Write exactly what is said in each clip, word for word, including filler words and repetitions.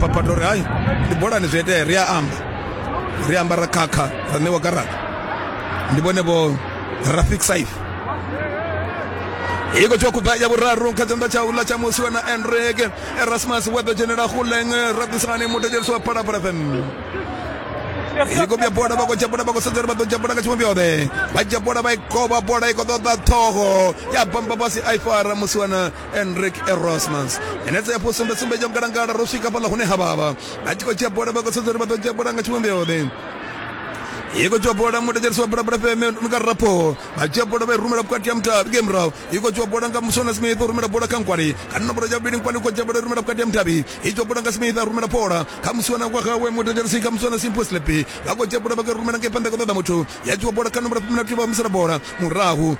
phaphatha uri hai ndi bolani zwi itea ri a amba ri amba ra khakha ra ṋewa garaṱa ndi vhone vho Rafik Saif iko tsho khuba ya vhuraru kha tshanḓa tsha uḽa tsha musi na Enrique Erasmus wa ḓo dzhenela Guleng Radisani mutedzhelisi wa Phalaphala F M iko bya bola vha khou dzhia bola vha khou sedza uri vha ḓo dzhia bola nga tshivhumbeo ḓe vha dzhia bola vha i kovha bola i khou ṱoḓa ṱhoho ya bamba fhasi a i fara musi wana Enrique Erasmus minetse ya fusumbe sumbe yo ngalangala ro swika fhaḽa hune ha vhavha vha tshi khou dzhia bola vha khou sedza uri vha ḓo dzhia bola nga tshivhumbeo ḓe iko dzhia bola mutedzhelisi wa Phalaphala F M nga Rapho vha dzhia bola vha i rumela vhukati ha mutavhi nge murahu iko dzhia bola nga Musona Smith u rumela bola kha Nkwali kha nomboro ya vhuvhili Nkwali u khou dzhia bola i rumela vhukati ha mutavhi i dzhia bola nga Smith a rumela bola kha Musona wa hawe mutedzhelisi kha Musona Simple Slepi vha khou dzhia bola vha khou rumela ngei phanḓa khou ṱoḓa muthu ya dzhia bola kha nomboro ya fumi na nthihi vha humisela bola murahu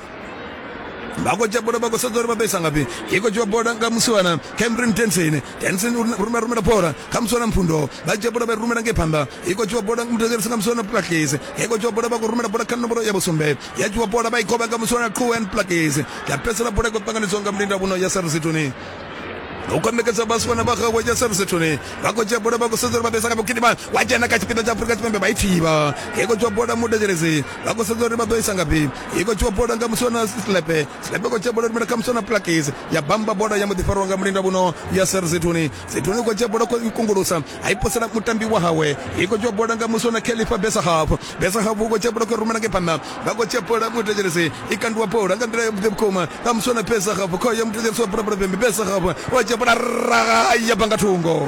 vha khou dzhia bola vha khou sedza uri vha ḓo isa ngafhi i khou dzhiwa bola nga musiwana Cameron Denson Denson rumela rumela bola kha musiwana Mpfundo vha dzhia bola vha i rumela ngei phanḓa i khou dzhiwa bola mutedzhelisi nga musiwana Plakis i khou dzhiwa bola vha khou rumela bola kha nomboro ya vhusumbe ya dzhiwa bola vha i kovha nga musiwana Quen Plakis ya fhedzisela bola i khou ṱanganedzwa nga mulinda vhuno ya Sarsituni u konekedza vhasiwana vha gawe ya Sarsituni vha khou dzhia bola vha khou sedza uri vha ḓo isa ngafhi gidima wa dzhena kha tshipiḓa tsha Afrika Tshipembe vha i thivha i khou dzhiwa bola mutedzhelesi vha khou sedza uri vha ḓo isa ngafhi i khou dzhiwa bola nga musiwana Slepe Slepe khou dzhia bola rumela kha musiwana Plakis ya bamba bola ya mbo ḓi farwa nga mulinda vhuno ya Sarsituni Zituni khou dzhia bola khou kungulusa a i posela mutambi wa hawe i khou dzhiwa bola nga musiwana Khalifa Besahaf Besahaf u khou dzhia bola khou rumela ngei phanḓa vha khou dzhia bola mutedzhelesi i kandiwa bola nga nḓila ya vhuḓi vhukuma nga musiwana Besahaf khoyo mutedzhelesi wa Phalaphala F M Besahaf wa dzhia bola ra ya banga thungo.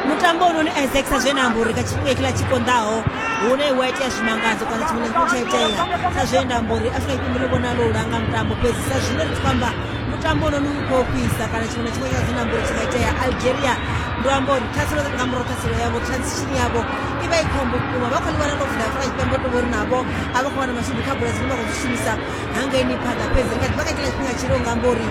Mutambo unoni Isaac sa zwe na amba uri kha tshifhinga hetshiḽa tshi konḓaho hune wa itea zwimangadzo kana tshiṅwe na tshiṅwe tsha itea sa zwe nda amba uri Afrika Tshipembe ḽi vhonala u langa mutambo fhedzi sa zwino ri tshi khou amba mutambo unoni u khou fhisa kana tshiṅwe na tshiṅwe tsha zwe nda amba uri tshi nga itea. Algeria ndo amba uri ṱhaselo nga murahu ṱhaselo yavho transition yavho i vha i khombo vhukuma vha khou ḽi wana ḽo vula Afrika Tshipembe tou vhori navho a vha khou wana mashudu kha bola dzine vha khou dzi shumisa hangeini phanḓa fhedzi ri nga ḓi vha kha tshiḽa tshifhinga tshile u nga amba uri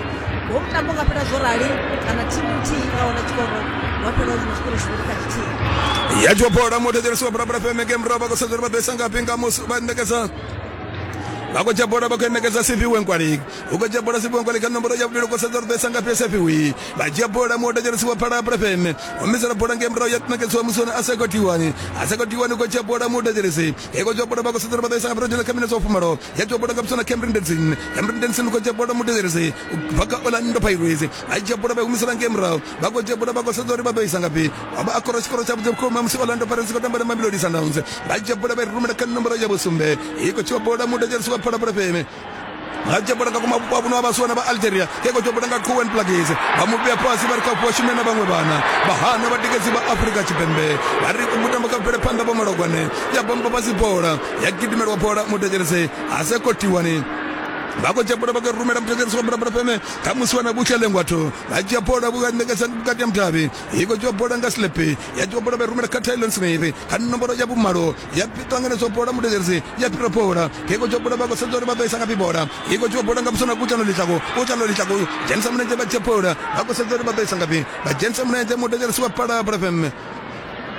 ho mutambo nga fhela zwo rali kana thimu nthihi nga wana tshikoro wa fhela zwi na zwikoro zwivhili kha tshithihi. Ya dzhiwa bola mutedzhelesi wa Phalaphala F M nge murahu vha khou sedza uri vha ḓo isa ngafhi nga musi vha ṋekedza vha khou dzhia bola vha khou ṋekedza Siviwe Nkwali u khou dzhia bola Siviwe Nkwali kha nomboro ya vhuvhili u khou sedza uri ḓo isa ngafhi Siviwe vha dzhia bola mutedzhelesi wa Phalaphala F M humisela bola ngei murahu ya ṋekedziwa musiwana Aseko Tiwani Aseko Tiwani u khou dzhia bola mutedzhelesi i khou dzhia bola vha khou sedza uri vha ḓo isa ngafhi ro dzhena kha minetse wa fumalo ya dzhia bola nga musiwana Cameron Denson Cameron Denson u khou dzhia bola mutedzhelesi u bva kha Orlando Pirates vha dzhia bola vha humisela ngei murahu vha khou dzhia bola vha khou sedza uri vha ḓo isa ngafhi vha a kora tshikoro tshavhuḓi vhukuma musi Orlando Pirates khou tamba na Mamelodi Sundowns vha dzhia bola vha i rumela kha nomboro ya vhusumbe i khou dzhia bola mutedzhelesi wa Phalaphala F M vha dzhia bola nga kuma vhupo vha vhasiwana vha Algeria ke khou dzhia bola nga Quen Plakis vha mu vhea fhasi vha ri kha fhiwa shume na vhaṅwe vhana vha hana vhatikedzi vha Afrika Tshipembe vha ri mutambo kha bvele phanḓa vho Malogwane ya bamba fhasi bola ya gidimelwa bola mutedzhelesi Aseko Tiwani vha khou dzhia bola vha khou rumela mutedzhelesi wa Phalaphala F M kha musiwana Vhushele Ngwatho vha dzhia bola vha ṋekedza vhukati ha mutavhi i khou dzhia bola nga Slepe ya dzhia bola vha i rumela kha Tylon Smith kha nomboro ya vhumalo ya ṱanganedzwa bola mutedzhelesi ya fhira bola i khou dzhia bola vha khou sedza uri vha ḓo isa ngafhi bola i khou dzhia bola nga musiwana Kutsano Litlako Kutsano Litlako dzhenisa mulenzhe vha dzhia bola vha khou sedza uri vha ḓo isa ngafhi vha dzhenisa mulenzhe mutedzhelesi wa Phalaphala F M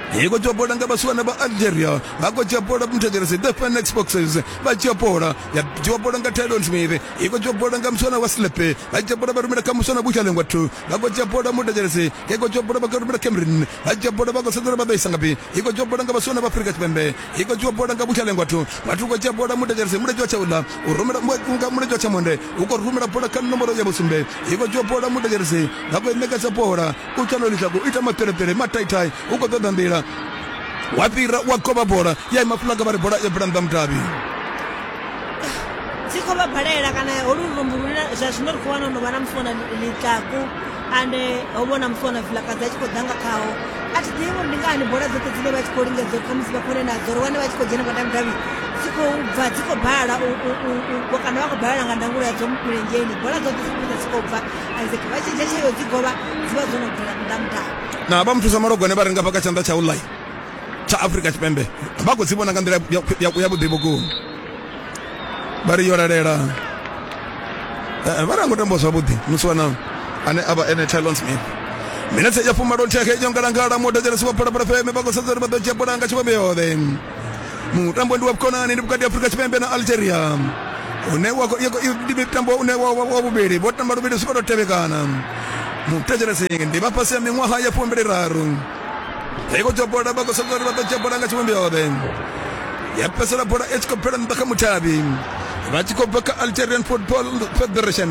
i khou dzhia bola nga vhasiwana vha Algeria vha khou dzhia bola mutedzhelesi the Phoenix Boxers vha dzhia bola ya dzhiwa bola nga Tylon Smith i khou dzhia bola nga musiwana wa Slepe vha dzhia bola vha rumela kha musiwana Vhushale Ngwathu vha khou dzhia bola mutedzhelesi i khou dzhia bola vha khou rumela Cameron vha dzhia bola vha khou sedza uri vha ḓo isa ngafhi i khou dzhia bola nga vhasiwana vha Afrika Tshipembe i khou dzhia bola nga Vhushale Ngwathu Ngwathu u khou dzhia bola mutedzhelesi mulenzhe wa tshaula u rumela nga mulenzhe wa tshamonde u khou rumela bola kha nomboro ya vhusumbe i khou dzhia bola mutedzhelesi vha khou ṋekedza bola Kutsano Litlako ita mapelepele mataitai u khou ṱoḓa nḓila wa fhira wa kovha bola ya ima fulaga vha ri bola ya bvela nnḓa mutavhi dzi khou vha balela kana holu lumbu lune zwa zwino ri khou wana no vha na musiwana Litlaku ande ho vhona musiwana Vilakazi a tshi khou ḓa nga khaho a thi ḓivhi uri ndi ngani bola dzoṱhe dzine vha tshi khou lingedza uri khamusi vha kone nadzo ri wane vha tshi khou dzhena vhukati ha mudavhi dzi khou bva dzi khou bala kana vha khou balela nga ndangulo yadzo milenzheni bola dzoṱhe dzi khou dzi khou bva Isaac vha tshi dzhia tsheo dzi govha dzi vha dzo no bvela nnḓa mudavhi. Na vha muthusa Malogwane vha ri nga fha kha tshanḓa tsha u ḽa tsha Afrika Tshipembe vha khou dzi vhona nga nḓila ya vhuḓi vhukuma vha ri yo lalela vha ri a ngo tamba zwavhuḓi musiwana ane a vha ene Tylon Smith. Minetse ya fumalo nthihi yo ngalangala mutedzhelesi wa Phalaphala F M vha khou sedza uri vha ḓo dzhia bola nga tshivhumbeo ḓe. Mutambo ndi wa vhukonani ndi vhukati ha Afrika Tshipembe na Algeria une wa ndi mutambo une wa wa vhuvhili vho tamba luvhili zwi khou tou tevhekana. Muthetshelesi ndi vha fhasi ya miṅwaha ya fumbiliraru. I khou dzhia bola vha khou sedza uri vha ḓo dzhia bola nga tshivhumbeo ya fhedzisela bola i tshi khou bvela nnḓa kha mutavhi vha tshi khou bva kha Algerian Football Federation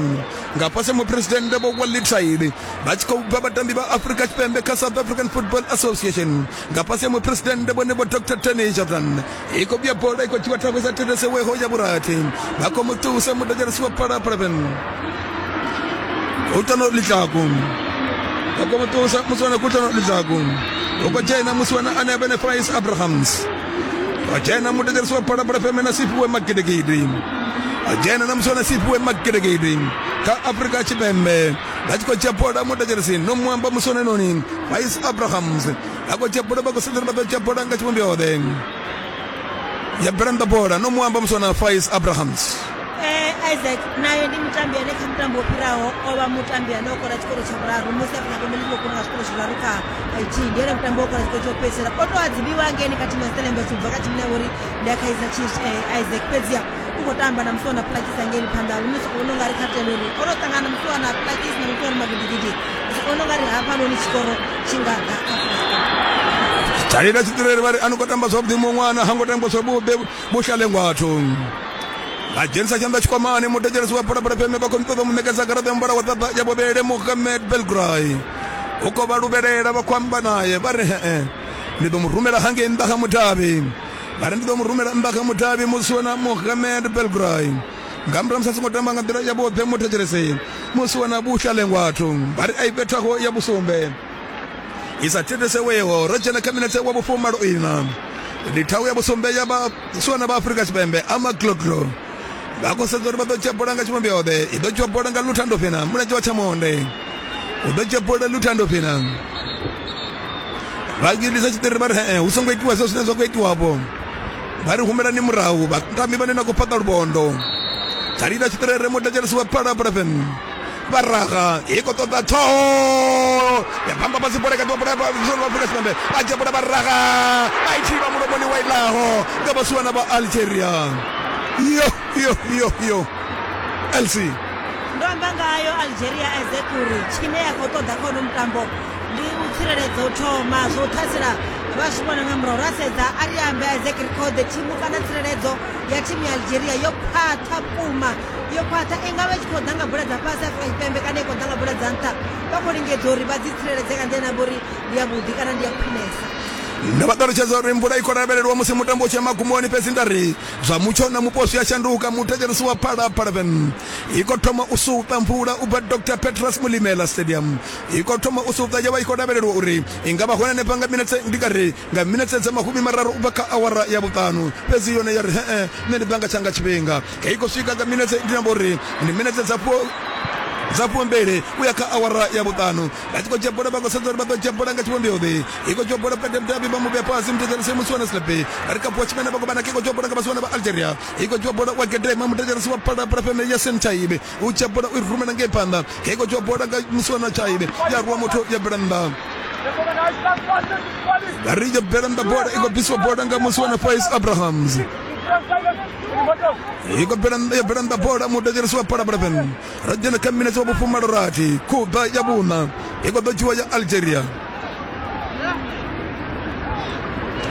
nga fhasi muphuresidennde Vho Walid Said vha tshi khou bva vhatambi vha Afrika Tshipembe kha South African Football Association nga fhasi ha muphuresidennde vhone Vho Doctor Tony Jordan. I khou vhuya bola i khou dzhiwa thago sa theleseweho ya vhurathi vha khou mu ṱusa muthetshelesi wa Phalaphala F M Kutlwano Letlhaku vha khou mu ṱusa musiwana Kutlwano Letlhaku u khou dzhena musiwana ane a vha ene Faiz Abrahams a dzhena muthetshelesi wa Phalaphala F M na Siphiwe Magidigidi a dzhena na musiwana Siphiwe Magidigidi kha Afrika Tshipembe vha tshi khou dzhia bola muthetshelesi no muamba musiwana noni Faiz Abrahams vha khou dzhia bola vha khou sedza uri vha ḓo dzhia bola nga tshivhumbeo ya bvela nnḓa bola no muamba musiwana Faiz Abrahams. Eh, Isaac naye ndi mutambi ane kha mutambo wo fhiraho o vha mutambi ane o kora tshikoro tsha vhuraru musi Afrika Tshipembe ḽi tshi khou kona nga zwikoro zwiraru kha ithihi ndi ene mutambi wo kora tshikoro tsho fhedzisela o tou adzivhiwa ngeni kha thimu ya Stellenbosch ubva kha thimu ya uri ndi ya Kaizer Chiefs. eh, Isaac fhedziha u khou tamba na musiwana Plakis ngeni phanḓa lune sokou vhona ungari kha tenda uri o no ṱangana na musiwana Plakis na musiwana Magidigidi sokou vhona ungari hafhanoni tshikoro tshi nga ḓa kha Afrika Tshipembe. Tshalila tshitireli vha ri a no khou tamba zwavhuḓi muṅwe ṅwana ha ngo tamba zwavhuḓi vhuhlalengwathu vha dzhenisa tshanḓa tshikwamani muthetshelesi wa Phalaphala F M vha khou ṱoḓa mu ṋekedza garaṱa ya muvhala wa ṱaḓa ya vhuvhili Mohamed Belgray u khou vha luvhelela vha khou amba naye vha ri hee ndi ḓo mu rumela hangei nnḓa kha mudavhi vha ri ndi ḓo mu rumela nnḓa kha mudavhi musiwana Mohamed Belgray nga murahu musi a songo tamba nga nḓila ya vhuḓi muthetshelesi musiwana vhuhlalengwathu vha ri a i bethaho ya vhusumbe i sa thithiseweho ro dzhena kha minetse wa vhufumalo ina ndi thawu ya vhusumbe ya vhasiwana vha Afrika Tshipembe amagloglo vha khou sedza uri vha ḓo dzhia bola nga tshivhumbeo i ḓo dzhia bola nga Luthando Fhina mulenzhe wa tshamonde u ḓo dzhia bola Luthando Fhina vha gidisa tshiṱiriri vha ri hee hu songo itiwa zwo zwine zwa khou itiwapo vha ri humelani murahu vhatambi vhane na khou fhaṱa luvhondo tshalila tshiṱiriri muthetshelesi wa Phalaphala F M vha raga i khou ṱoḓa ṱhoho ya bamba fhasi bola kati wa bola vha Afrika Tshipembe vha dzhia bola vha raga vha i thivha mulomoni wa ilaho nga vhasiwana vha Algeria. Yo yo yo yo L C ndo amba ngayo Algeria Isaac uri tshine ya khou ṱoḓa kha uno mutambo ndi u tsireledza u thoma zwo ṱhasela vha zwi vhona nga murahu ra sedza a ri ambe Isaac ri khode thimu kana tsireledzo ya thimu ya Algeria yo khwaṱha vhukuma yo khwaṱha i nga vha i tshi khou ḓa nga bola dza fhasi Afrika Tshipembe kana i khou ḓa nga bola dza nṱha vha khou lingedza uri vha dzi tsireledze nga nḓila ine uri ndi ya vhuḓi kana ndi ya khwinesa. Ndo vha ṱalutshedza uri mvula i khou lavhelelwa musi mutambo u tshi ya magumoni fhedzi nda ri zwa mutsho na mupo zwi a shanduka muthetshelesi wa Phalaphala F M i khou thoma u suṱa mvula u bva Doctor Petrus Mulimela Stadium i khou thoma u suṱa ya vha i khou lavhelelwa uri i nga vha hone hanefha nga minetse ndi nga ri nga minetse dza mahumi mararu u bva kha awara ya vhuṱanu fhedzi yone ya ri hee nṋe ndi bva nga tshanga tshifhinga i khou swika nga minetse ndi amba uri ndi minetse dza dza fumbili u ya kha awara ya vhuṱanu vha tshi khou dzhia bola vha khou sedza uri vha ḓo dzhia bola nga tshivhumbeo i khou dzhia bola vhukati ha mudavhi vha mu vhea fhasi muthetshelesi musiwana Slepe ri kha Tshimene vha khou vhana i khou dzhia bola nga vhasiwana vha Algeria i khou dzhia bola wa gedema muthetshelesi wa Phalaphala F M Yasin Chaibe u dzhia bola u i rumela ngei phanḓa i khou dzhia bola nga musiwana Chaibe ya rwa muthu ya bvela nnḓa vha ri ya bvela nnḓa bola i khou bvisiwa bola nga musiwana Faiz Abrahams i khou bvela ya bvela nnḓa bola muthetshelesi wa Phalaphala F M ro dzhena kha minetse wa vhufumalo rathi khuba ya vhuṋa i khou ḓo dzhiwa ya Algeria.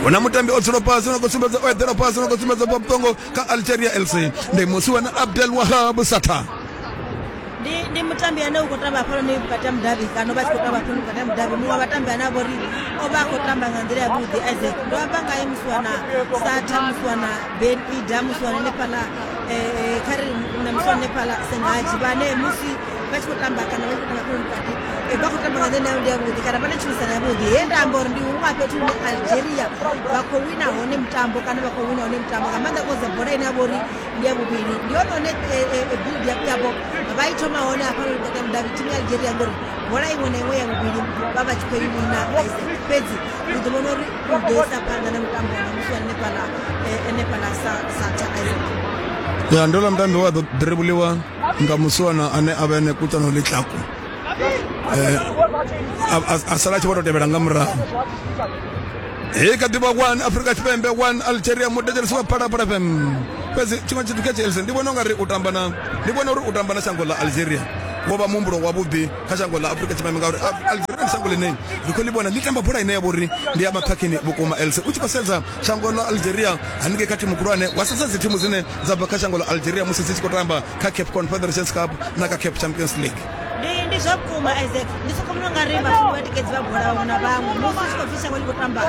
Hu na mutambi o dzula fhasi no khou sumbedza o eḓela fhasi no khou sumbedza vhuṱongo kha Algeria L C ndi musiwana Abdel Wahab Sata. Ndi ndi mutambi ane u khou tamba hafhanoni vhukati ha mudavhi kana vha tshi khou tamba hafhanoni vhukati ha mudavhi muṅwe wa vhatambi ane a vha uri o vha a khou tamba nga nḓila yavhuḓi Isaac ndo amba ngaye musiwana Satha musiwana Ben Ida musiwana hanefhaḽa eh, kha ri na musiwana hanefhaḽa Sengaji vhane musi vha tshi khou tamba kana vha tshi khou tamba hafhanoni vhukati vha khou tamba nga nḓila ine ndi yavhuḓi kana vha na tshumisano yavhuḓi he nda amba uri ndi huṅwe fhethu hune Algeria vha khou wina hone mutambo kana vha khou wina hone mutambo nga maanḓa koze bola ine ya vha uri ndi ya vhuvhili ndi yone hone build up yavho vha i thoma hone hafhanoni vhukati ha mudavhi thimu ya Algeria ngori bola iṅwe na iṅwe ya vhuvhili vha vha tshi khou i wina Isaac fhedzi ri ḓo vhona uri u ḓo isa phanḓa na mutambo na musi wa hanefhaḽa hanefhaḽa Satha Isaac. Ya ndo ḽa mutambi wa ḓo dribuliwa nga musiwana ane a vha ene Kutlwano Letlhaku eh a sala tshi vho tou tevhela nga murahu. Hei kha ḓivha one Afrika Tshipembe one Algeria muthetshelesi wa Phalaphala F M fhedzi tshiṅwe tshithu kha Chelsea ndi vhona ungari u tamba na ndi vhona uri u tamba na shango ḽa Algeria wo vha muhumbulo wavhuḓi kha shango ḽa Afrika Tshipembe, ngauri Algeria ndi shango ḽine ri khou ḽi vhona ḽi tamba bola ine ya vha uri ndi ya maphakhini vhukuma. Else u tshi khou sedza shango ḽa Algeria haningei kha thimu khulwane, wa sedza dzi thimu dzine dza bva kha shango ḽa Algeria musi dzi tshi khou tamba kha CAF Confederations Cup na kha CAF Champions League. Ndi ndi zwa vhukuma Isaac, ndi soko vhona ungari vhathu vhatikedzi vha bola vhaṅwe na vhaṅwe musi u tshi khou pfhi shango ḽi khou tamba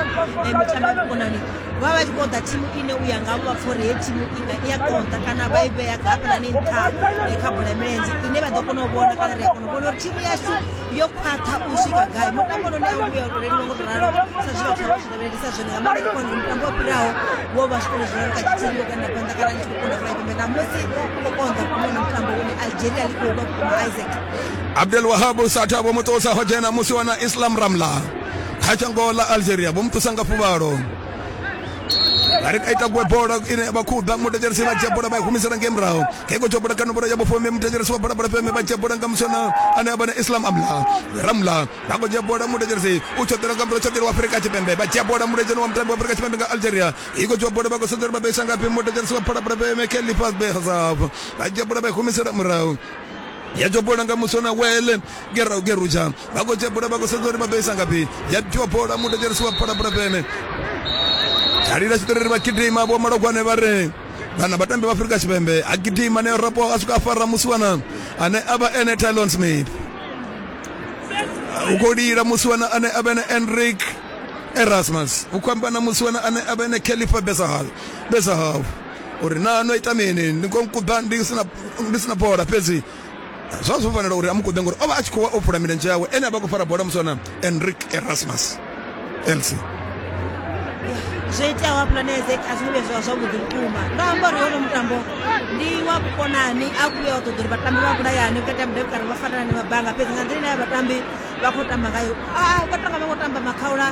mitambo ya vhukonani, vha vha tshi khou ḓa thimu ine u ya ngavho vha pfha uri heyi thimu inga i a konḓa kana vha i vhea hafhaḽani nṱha kha bola ya milenzhe ine vha ḓo kona u vhona kana ri a kona u vhona uri thimu yashu yo khwaṱha u swika gai. Mutambo noni a u vhuya u tou leluwa ngo to ralo sa zwe vhathu vha zwi lavhelelisa zwone, nga maanḓa kona mutambo wo fhiraho wo vha zwikolo zwiraru kha tshithihi wo kanda phanḓa kana ḽi tshi khou kunda Afrika Tshipembe, ṋamusi u khou konḓa vhukuma na mutambo une Algeria ḽi khou lwa vhukuma Isaac. Abdel Wahab Satha vho muṱusa ho dzhena musi wana Islam Ramla kha shango ḽa Algeria, vho muṱusa nga fuvhalo. Vha ri ita gwe bola ine vha khou ḓa mutetshelesi vha dzhia bola vha i humisela ngei murahu. Keko tsho bola kana bola ya vhufumi mutetshelesi wa bola bola feme vha dzhia bola nga musona ane a vha na Islam Amla Ramla vha khou dzhia bola mutetshelesi u tshoṱela nga murahu tshoṱela wa Afrika Tshipembe vha dzhia bola mutetshelesi wa mutambi wa Afrika Tshipembe nga Algeria i khou dzhia bola vha khou sedza uri vha ḓo isa ngafhi mutetshelesi wa bola bola feme Khalifa Behzab vha dzhia bola vha i humisela murahu. Ya dzhia bola nga musona wele gerau geruja vha khou dzhia bola vha khou sedza uri vha ḓo isa ngafhi ya dzhia bola mutetshelesi wa bola bola feme Tshalila tshiṱori vha gidima vho malogwane vha ri vhana vhatambi vha Afrika Tshipembe a gidima ne rapo a swika a fara musiwana ane a vha ene Tylon Smith u khou lila musiwana ane a vha ene Enrique Erasmus u khou amba na musiwana ane a vha ene Khalifa Bezahal Bezahal uri na no ita mini ndi khou nkuḓa ndi sina ndi sina bola fhedzi zwa zwo fanela uri a mu kuḓe ngori o vha a tshi khou wa o phula milenzhe yawe ene a vha khou fara bola musiwana Enrique Erasmus. Elsie Zwo iteaho hafhaḽani Isaac a zwi ngo vhuya zwa zwavhuḓi vhukuma. Ndo amba uri hono mutambo ndi wa vhukonani, a vhuya wa ṱoḓa uri vhatambi vha vhulayane vhukati ha mudavhi kana vha farelane mabanga, fhedzi nga nḓila ine vhatambi vha khou tamba ngayo vha tonga vha khou tamba makhaula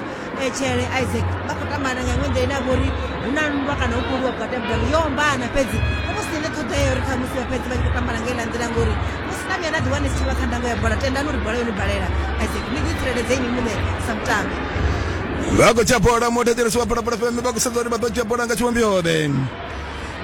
tshele Isaac, vha khou tamba nga iṅwe nḓila ine ya vha uri hu na nndwa kana hu khou lwiwa vhukati ha mudavhi yo ombana, fhedzi hu vha hu si na ṱhoḓea ya uri khamusi vha fhedze vha tshi khou tambana nga heiḽa nḓila, ngori musi na vhuya na ḓiwana ni si tsha vha kha ndango ya bola tendani uri bola yo ni balela Isaac, ni ḓi tsireledze inwi muṋe sa mutambi. Vha khou dzhia bola mutetshelesi wa bola bola feme vha khou sedza uri vha ḓo dzhia bola nga tshivhumbeo-ḓe.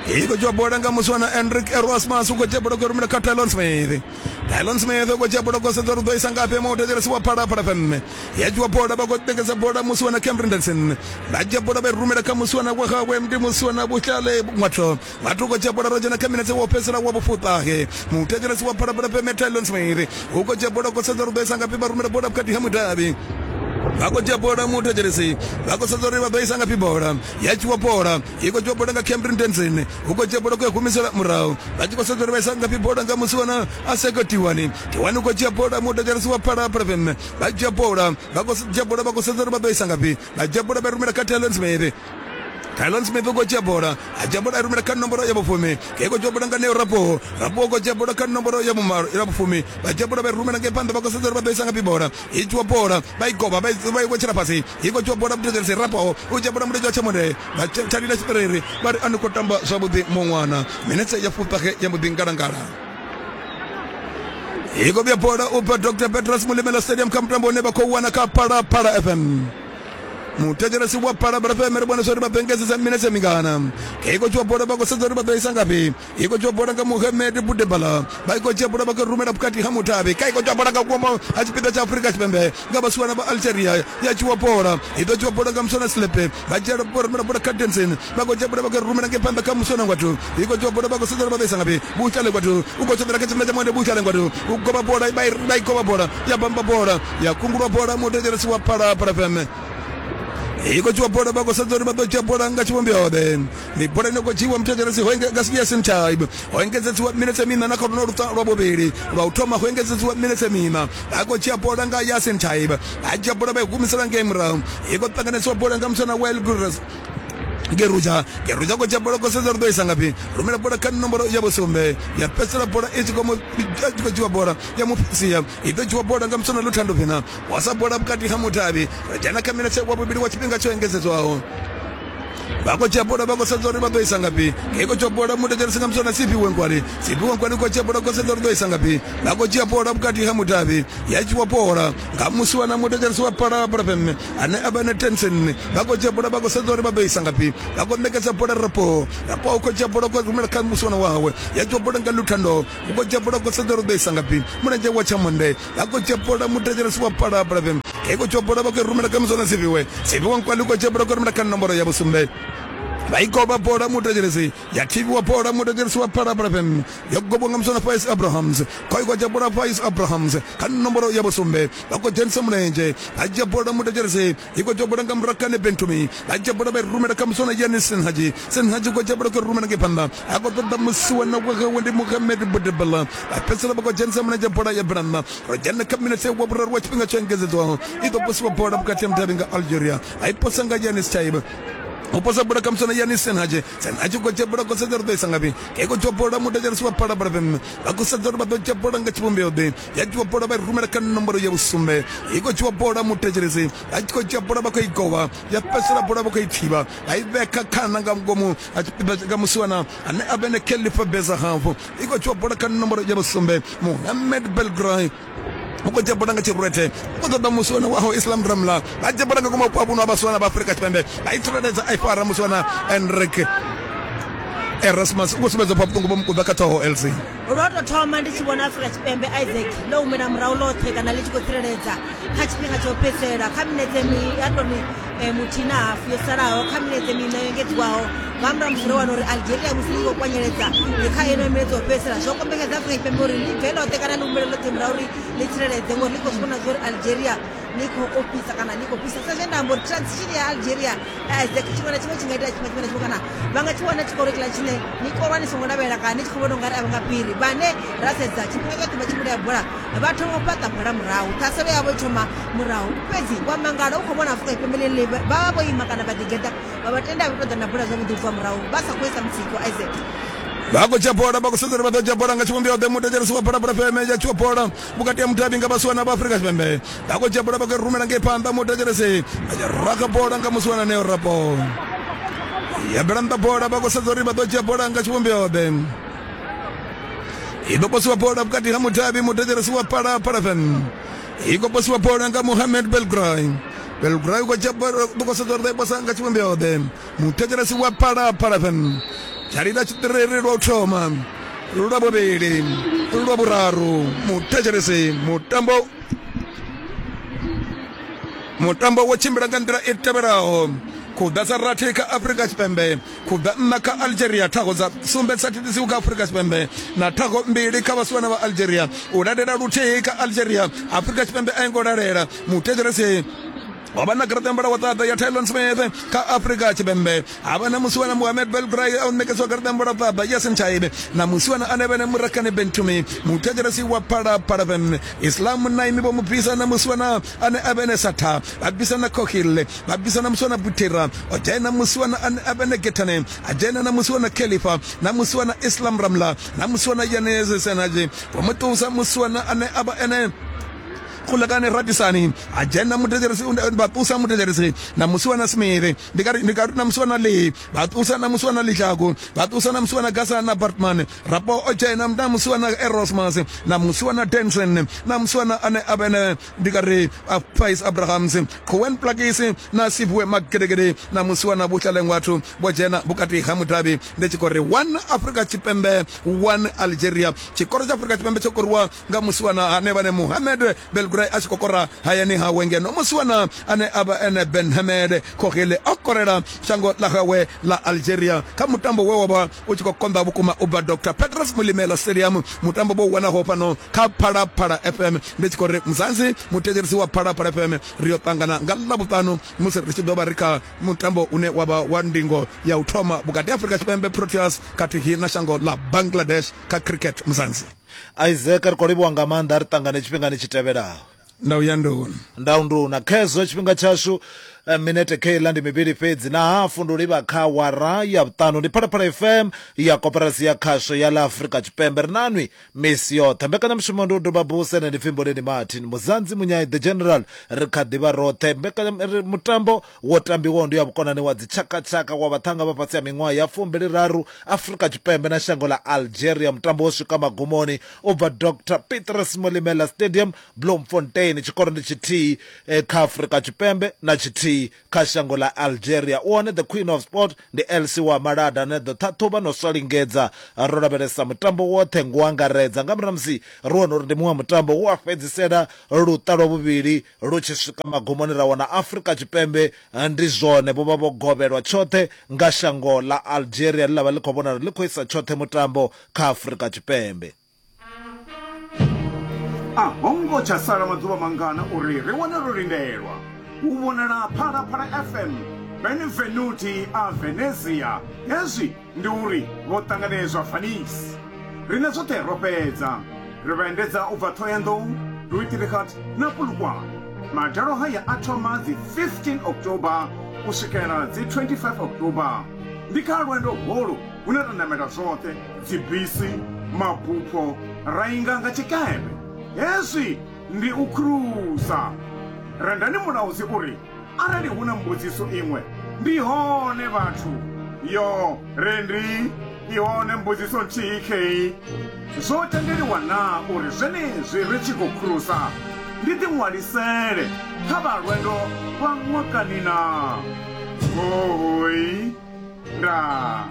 I khou dzhia bola nga musiwana Enrique Erasmus u khou dzhia bola khou rumela kha Tylon Smith. Tylon Smith u khou dzhia bola khou sedza uri u ḓo isa ngafhi mutetshelesi wa Phala Phala F M. Ya dzhiwa bola vha khou ṋekedza bola musiwana Cameron Denson. Vha dzhia bola vha i rumela kha musiwana wa hawe ndi musiwana Buhlale Ngwatho. Ngwatho u khou dzhia bola ro dzhena kha minetse wa u fhedzisela wa vhufuṱahe. Mutetshelesi wa Phala Phala F M Tylon Smith u khou dzhia bola khou sedza uri u ḓo isa ngafhi vha rumela bola vhukati ha mudavhi. Vha khou dzhia bola mutetshelesi vha khou sedza uri vha ḓo isa ngafhi bola ya dzhiwa bola i khou dzhiwa bola nga Cameron Denson u khou dzhia bola khou humisela murahu vha tshi khou sedza uri vha isa ngafhi bola nga musiwana Aseko Tiwani Tiwani u khou dzhia bola mutetshelesi wa Phala Phala F M vha dzhia bola vha khou dzhia bola vha khou sedza uri vha ḓo isa ngafhi vha dzhia bola vha rumela kha Tylon Smith. Tylon Smith u khou dzhia bola a dzhia bola a rumela kha nomboro ya vhufumi ke khou dzhia bola nga Neo Rapo Rapo u khou dzhia bola kha nomboro ya vhumalo ya vhufumi vha dzhia bola vha rumela ngei phanḓa vha khou sedza uri vha ḓo isa ngafhi bola i dzhiwa bola vha i govha vha i wetshela fhasi i khou dzhiwa bola mutetshelesi Rapo u dzhia bola mulenzhe wa tshamonde vha tshalila tshiṱiriri vha ri a ni khou tamba zwavhuḓi muṅwana minetse ya fuṱahe ya mbo ḓi ngalangala. I khou vhuya bola u bva Doctor Petros Mulimela Stadium kha mutambo une vha khou wana kha Phala Phala F M. Mutetshelesi wa Phala Phala F M ri vhona uri vha ḓo engedzedza minetse mingana. I khou dzhiwa bola vha khou sedza uri vha ḓo isa ngafhi. I khou dzhiwa bola nga Mohamed Budebala vha i khou dzhia bola vha khou rumela vhukati ha mutavhi ka i khou dzhiwa bola nga vhuimo ha tshipiḓa tsha Afrika Tshipembe nga vhasiwana vha Algeria ya dzhiwa bola i ḓo dzhiwa bola nga Musona Slepe vha dzhia rumela bola kha Denson vha khou dzhia bola vha khou rumela ngei phanḓa kha Musona Ngwathu i khou dzhiwa bola vha khou sedza uri vha ḓo isa ngafhi. Buhlale Ngwathu u khou tshoṱela kha tshipiḓa tsha monde Buhlale Ngwathu u goba bola vha i goba bola ya bamba bola ya kungulwa bola mutetshelesi wa Phala Phala F M. I khou dzhiwa bola vha khou sedza uri vha ḓo dzhia bola nga tshivhumbeo-ḓe. Ndi bola ine khou dzhiwa mutetshelesi ho nga Yasin Chaib ho engedzedziwa minetse miṋa na kha luno luṱa lwa vhuvhili lwa u thoma ho engedzedziwa minetse miṋa vha khou dzhia bola nga Yasin Chaib vha dzhia bola vha i humisela ngei murahu i khou ṱanganesiwa bola nga musana Wael Gurres Geruja Geruja khou dzhia bola khou sedza uri ḓo isa ngafhi rumela bola kha nomboro ya vhusumbe ya fhedzisela bola i tshi khou dzhiwa bola ya mufisia i ḓo dzhiwa bola nga musana Luthando Vina wasa bola vhukati ha mutavhi ra dzhena kha minetse wa vhuvhili wa tshifhinga tsho engedzedzwaho. Vha khou dzhia bola vha khou sedza uri vha ḓo isa ngafhi. Ngei khou dzhia bola muthetshelesi nga muswana Siphiwe Nkwali. Siphiwe Nkwali khou dzhia bola khou sedza uri ḓo isa ngafhi. Vha khou dzhia bola vhukati ha mudavhi ya dzhiwa bola nga musiwana muthetshelesi wa Phalaphala F M ane a vha na Tensen. Vha khou dzhia bola vha khou sedza uri vha ḓo isa ngafhi. Vha khou ṋekedza bola Rapo. Rapo u khou dzhia bola khou rumela kha musiwana wawe. Ya dzhiwa bola nga Luthando. U khou dzhia bola khou sedza uri ḓo isa ngafhi. Mulenzhe wa tshamonde. Vha khou dzhia bola muthetshelesi wa Phalaphala F M. Ngei khou dzhia bola vha khou rumela kha musiwana Siphiwe. Siphiwe Nkwali khou dzhia bola khou rumela kha nomboro ya vhusumbe. Vha i goba bola muthetshelesi ya thivhiwa bola muthetshelesi wa Phalaphala F M yo gobwa nga muswana Faiz Abrahams. Khou khou dzhia bola Faiz Abrahams kha nomboro ya vhusumbe. Vha khou dzhenisa mulenzhe vha dzhia bola muthetshelesi i khou dzhia bola nga Murakane Bentumi. Vha dzhia bola vha i rumela kha muswana Yanis Senhaji. Senhaji khou dzhia bola khou rumela ngei phanḓa a khou ṱoḓa musiwana wawe ndi Mohamed Budebala. Vha fhedzisela vha khou dzhenisa mulenzhe bola ya bela nnḓa. Ro dzhena kha minetse wa vhuraru wa tshifhinga tsho engedzedzwaho. I ḓo posiwa bola vhukati ha mudavhi nga Algeria. A i posa nga Yanis Chaib. U posa bola kha muswana Yanis Senhaji. Senhaji khou dzhia bola khou sedza uri ḓo isa ngafhi. Ngei khou dzhia bola muthetshelesi wa Phalaphala F M. Vha khou sedza uri vha ḓo dzhia bola nga tshivhumbeo ḓe. Ya dzhiwa bola vha i rumela kha nomboro ya vhusumbe. I khou dzhiwa bola muthetshelesi. Vha tshi khou dzhia bola vha khou i govha. Ya fhedzisela bola vha khou i thivha. Vha i vhea kha khana nga ngomu nga musiwana ane a vha ene Khalifa Bezahafu. I khou dzhiwa bola kha nomboro ya vhusumbe Mohamed Belgray. U khou dzhia bola nga tshirwethe. U khou ṱoḓa musiwana waho Islam Ramla. Vha dzhia bola nga ngomu vhuno ha vhasiwana vha Afrika Tshipembe. Vha i tsireledza a i fara musiwana Enrique Erasmus. U khou sumbedza pfa vhuṱungu vho mukuḓa kha ṱhoho L C. Lwo tou thoma ndi tshi vhona Afrika Tshipembe Isaac ḽo humela murahu ḽoṱhe kana ḽi tshi khou tsireledza kha tshifhinga tsha u fhedzisela kha minetse ya toni muthihi na hafu yo salaho kha minetse miṋa yo engedziwaho nga murahu musi ro wana uri Algeria musi ḽi khou kwanyeledza kha ino minetse yo fhedzisela zwo kombetshedza Afrika Tshipembe uri ḽi bve ḽoṱhe kana ḽi humele ḽoṱhe murahu uri ḽi tsireledze ngori ḽi khou zwi vhona zwa uri Algeria ḽi khou ofhisa kana ḽi khou fhisa. Sa zwe nda amba uri transition ya Algeria Isaac tshiṅwe na tshiṅwe tshi nga itea tshiṅwe na tshiṅwe kana vha nga tshi wana tshikoro tshiḽa tshine ni korwa ni songo lavhelela kana ni tshi khou vhona ungari a vha nga fhiri. Vhane ra sedza tshifhinga tshoṱhe vha tshi vhulaya bola vha thoma u fhaṱa bola murahu, ṱhaselo yavho i thoma murahu. Fhedzi wa mangala u khou vhona Afrika Tshipembe ḽeḽi vha vha vho ima kana vha ḓigeḓa vha vha tenda vha tou ḓa na bola zwavhuḓi u bva murahu vha sa khou isa mutsiko Isaac. Vha khou dzhia bola vha khou sedza uri vha ḓo dzhia bola nga tshivhumbeo ḓe. Muthetshelesi wa Phalaphala F M ya dzhiwa bola vhukati ha mudavhi nga vhasiwana vha Afrika Tshipembe. Vha khou dzhia bola vha khou rumela ngei phanḓa muthetshelesi vha raga bola nga musiwana Neo Rapo. Ya bela nnḓa bola vha khou sedza uri vha ḓo dzhia bola nga tshivhumbeo ḓe. I ḓo posiwa bola vhukati ha mudavhi muthetshelesi wa Phalaphala F M. I khou posiwa bola nga Mohamed Belgray. Belgray u khou dzhia bola u khou sedza uri ḓo i posa nga tshivhumbeo ḓe. Muthetshelesi wa Phalaphala F M. Tshalila tshiṱiriri lwa u thoma, lwa vhuvhili, lwa vhuraru. Muthetshelesi mutambo mutambo wo tshimbila nga nḓila i tevhelaho. Khuḓa dza rathi kha Afrika Tshipembe, khuḓa nṋa kha Algeria, thago dza sumbe dza thithisiwi kha Afrika Tshipembe na thago mbili kha vhasiwana vha Algeria. U lalela luthihi kha Algeria, Afrika Tshipembe a i ngo lalela. Muthetshelesi ho vha na garaṱa ya mbala wa ṱaḓa ya Tylon Smith kha Afrika Tshipembe. Ha vha na musiwana Mohamed Belgray a ṋekedzwa garaṱa ya mbala ṱaḓa Yasin Chaibe na musiwana ane vhene Murakane Bentumi. Muthetshelesi wa Phalaphala F M Islam Naimi vho mu bvisa na musiwana ane a vhene Satha. Vha bvisa na Kokhile, vha bvisa na musiwana Butera. O dzhena musiwana ane a vhene Gethane, a dzhena na musiwana Khalifa na musiwana Islam Ramla na musiwana Yanez Senaji. Vho mu ṱusa musiwana ane a vha ene Khulekane Radisani. A dzhena muthetshelesi vha ṱusa muthetshelesi na musiwana Smith. Ndi nga ndi nga na musiwana Lee. Vha ṱusa na musiwana Lihlaku. Vha ṱusa na musiwana Gasa na Bartman. Rapo o dzhena na musiwana Erasmus na musiwana Denson na musiwana ane a vhene ndi nga ri Faiz Abrahams, Cohen Plakisi na Siphiwe Magedegede na musiwana Buhlalengwathu vho dzhena vhukati ha mudavhi. Ndi tshi khou ri one Afrika Tshipembe one Algeria. Tshikoro tsha Afrika Tshipembe tsho koriwa nga musiwana ane vhane Mohamed Belgray a tshi khou kora hayani hawe, ngeno musiwana ane a vha ene Ben Hamed Kokhele a korela shango ḽa hawe ḽa Algeria kha mutambo we wa vha u tshi khou konḓa vhukuma u bva Doctor Petros Molemela Stadium. Mutambo vho wanaho fhano kha Phalaphala F M. Ndi tshi khou ri Mzansi muthetshelesi wa Phalaphala F M ri yo ṱangana nga Ḽavhuṱanu musi ri tshi ḓo vha ri kha mutambo une wa vha wa ndingo ya u thoma vhukati ha Afrika Tshipembe Proteas khathihi na shango ḽa Bangladesh kha cricket. Mzansi Isaac ri khou livhuwa nga maanḓa, ri ṱangane tshifhingani tshi tevhelaho. Ndau ya nduna ndau nduna khezwo tshifhinga tshashu Minete keiḽa ndi mivhili fhedzi na hafu ndi u livha kha wara ya vhuṱanu. Ndi Phalaphala F M ya Koporasi ya Khasho ya ḽa Afrika Tshipembe. Ri nanwi misi yoṱhe. Mbekanyamushumo ndi u doba buse na ndi Pfimboleni Martin Muzanzi Munyai the General. Ri kha ḓivha roṱhe. Mbekanya mutambo wo tambiwaho ndi ya vhukonani wa dzitshakatshaka wa vhaṱhanga vha fhasi ha miṅwaha ya fumbili raru Afrika Tshipembe na shango ḽa Algeria. Mutambo wo swika magumoni u bva Doctor Petrus Molemela Stadium, Bloemfontein. Tshikoro ndi tshithihi eh, kha Afrika Tshipembe na tshithihi kha shango ḽa Algeria. U hone the Queen of Sport ndi L C wa Malada ane ḓo ṱhaṱhuvha no swa lingedza. Ro lavhelesa mutambo woṱhe ngo angaredza nga murahu musi ri wana uri ndi muṅwe mutambo wo a fhedzisela luṱa lwa vhuvhili lu tshi swika magumoni ra wana Afrika Tshipembe ndi zwone vho vha vho govhelwa tshoṱhe nga shango ḽa Algeria ḽi ḽa vha ḽi khou vhonala ḽi khou isa tshoṱhe mutambo kha Afrika Tshipembe. A hongo tsha sala maḓuvha mangana uri ri wane ro lindelwa u vhonala Phalaphala F M Benvenuti a Venezia. Hezwi ndi uri vho ṱanganedzwa Venice. Rine zwoṱhe ro fhedza, ri vha endedza u bva Thohoyandou, Luitirikhat na Polokwane. Madalo haya a thoma dzi fifteen October u swikela dzi twenty-five October. Ndi kha lwendo holu hune ra namela zwoṱhe, dzibisi, mabupho, ra inga nga tshikepe. Hezwi ndi u krusa. Rendani Mulaudzi uri arali hu na mbudziso iṅwe ndi hone vhathu. Yo rendi i hone mbudziso nthihi khei. Zwo tendeliwa na uri zwenezwi ri tshi khou krusa ndi ḓiṅwalisele kha vha lwendo lwa ṅwakani na? Hoi ndaa.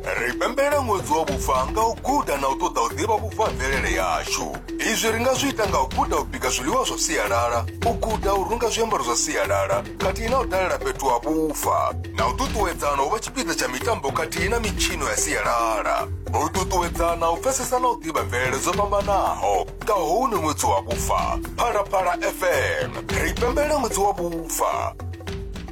Ri pembela ṅwedzi wa vhufa nga u guda na u ṱoḓa u ḓivha vhufa ha mvelele yashu. Izwi ri nga zwi ita nga u guda u bika zwiḽiwa zwa sialala, u guda u runga zwiambaro zwa sialala, khathihi na u dalela fhethu ha vhufa, na u ṱuṱuwedzana u vha tshipiḓa tsha mitambo khathihi na mitshino ya sialala. U ṱuṱuwedzana u pfesesa na u ḓivha mvelele dzo fhambanaho nga houno ṅwedzi wa vhufa. Phalaphala F M, ri pembela ṅwedzi wa vhufa.